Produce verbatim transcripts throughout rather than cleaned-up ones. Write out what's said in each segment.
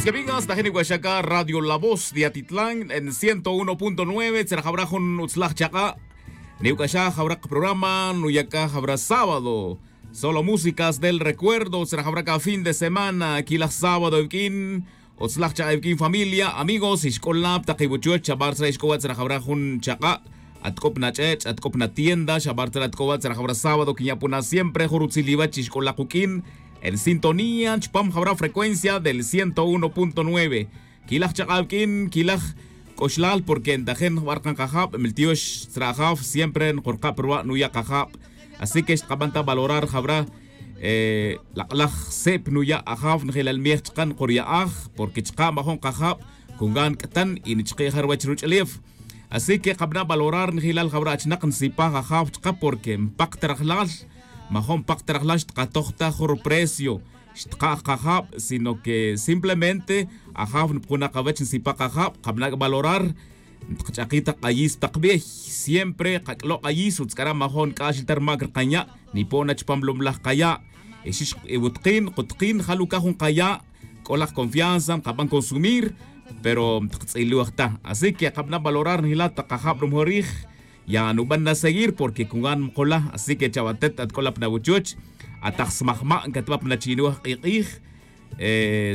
Amigas, tajin niwac'axa c'a radio la voz de atitlán en ciento uno punto nueve tzera jawra jun utzlaj chak'a'. Niwac'axa jawra kaprograma nuya' c'a jawra sábado. Solo músicas del recuerdo tzera jawra c'a fin de semana quilaj sábado iwq'uin. Utzlaj chak'a' iwq'uin familia amigos ixc'ol na pa tak iwuchuch chabar tzera ixc'ol wa' tzera jawra jun chak'a'. Atc'o pa nach'ech' atc'o pa natienda xabar tzera atc'o wa' tzera jawra sábado quinya' puna siempre jun rutzil iwach ixc'ol la kuq'uin. En sintonía chupam jawra frecuencia del ciento uno punto nueve. Quilaj chak'a' wiq'uin quilaj c'oxlal porque ntajin jbar kan kajab' miltiox tzera ajaf siempre nkurka' pa ruwa' nuya' kajab'. Así que xtkaban ta valorar jawra. Lak'laj sip nuya' ajaf njelal miej chka' nkurya'aj porque chka' majun kajab' kungan c'tan y nichki' ja ruwech ruch'ulef. Así que kabana' valorar njelal jawra achnak nsipaj ajaf chka' porque npak ta rajlal. Majun npak ta rajlal xtkatoj ta jun ruprecio xtkaaj kajab' sino que simplemente ajaf npukunak awech nsipaj kajab' kabana' valorar. Ntkach'aki' tak k'ayis tak bey siempre kac'lo' k'ayis utz k'ara' majun nk'axil ta rumac rkanya' nipo' na chupam lomlaj kaya'. Ixix iwutkin kutk'in jalucaj jun kaya' c'o laj confianza nkaban consumir pero ntkatz'iloj ta. Así que kabana' valorar njelal tak kajab' rumajorij. Ya nuban na seguir porque kungan mukula así que chawatet atc'ola pa nawuchuch ataj smajma' ncatba pa nachinoj k'ik'ij.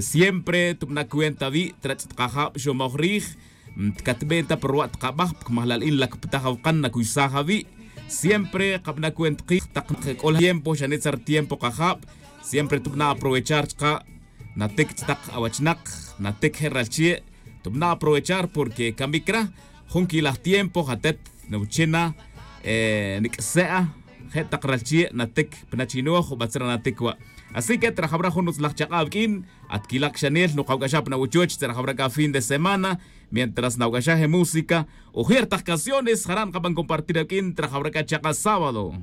Siempre tubana' cuenta awi' trach' tak kajab' xomoj rij. Tkatben ta pa ruwa' tkabaj pkmajalal in lacptaj awukan nacuysaj awi'. Siempre kabana' cuenta kij tak nkac'ol tiempo xane' tzar tiempo kajab'. Siempre tubana' aprovechar chka' natic chtak awachnak natic je' ralchi'. Tubana' aprovechar porque camic ra jun quilaj tiempo jatet nuwuchina. Nic'se'a je' tak ralchi' natic pa nachinoj ubatzra natic wa'. Así que trajawra jun utzlaj chak'a' wiq'uin atquilak xanel nukawac'axa pa nawuchuch trajawra c'a fin de semana. Mientras nawac'axa je música ujer tak canciones jara' nkaban compartir awuq'uin trajawra c'a chak'a' sábado.